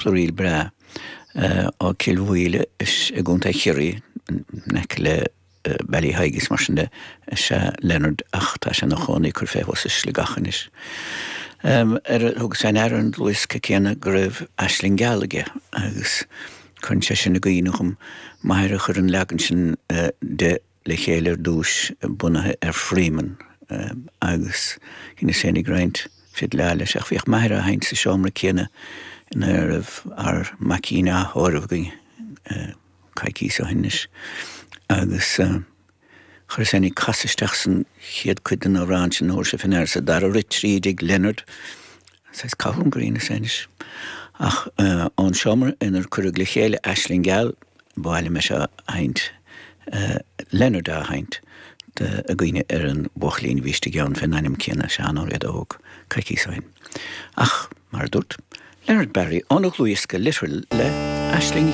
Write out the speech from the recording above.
Ríl breá ó Cill Mhaoile i gContae Chiarraí, in aice le Ballyheigue is mar sin de, is ea Leonard ach tá sé ina chónaí cuir fé thuas i Sligeach anois. Ar thugas fé ndeara ar an dlúthdhiosca céanna go raibh Aisling Gheal aige agus cuireann sé sin i gcuimhne dhom m'athair a chuir an leagan sin de le chéile ar dtúis, bunaithe ar Freeman agus shíneas féin ag roinnt fidleáil leis ach bhíodh m'athair á sheinnt sa seomra céanna ina raibh ár maicín á thórramh againn coicíos ó shin anois agus chuireas féin ag casadh isteach san chéad cuid den amhrán sin, thabharfaidh sibh fé ndeara sa dara rith tríd ag Leonard. Saghas cathú gur dheineas é anois. Ach ón seomra inar cuireadh le chéile Aisling Gheal, ba mhaith liom é seo a sheinnt, Leonard á sheinnt i gcuimhne ar an bhuachaillín a bhí istigh ann fén ainm céanna, Seán Ó Riada Óg, coicíos ó shin. Ach, mar a dúrt, Leonard Barry óna dhlúthdhiosca Literal le Aisling.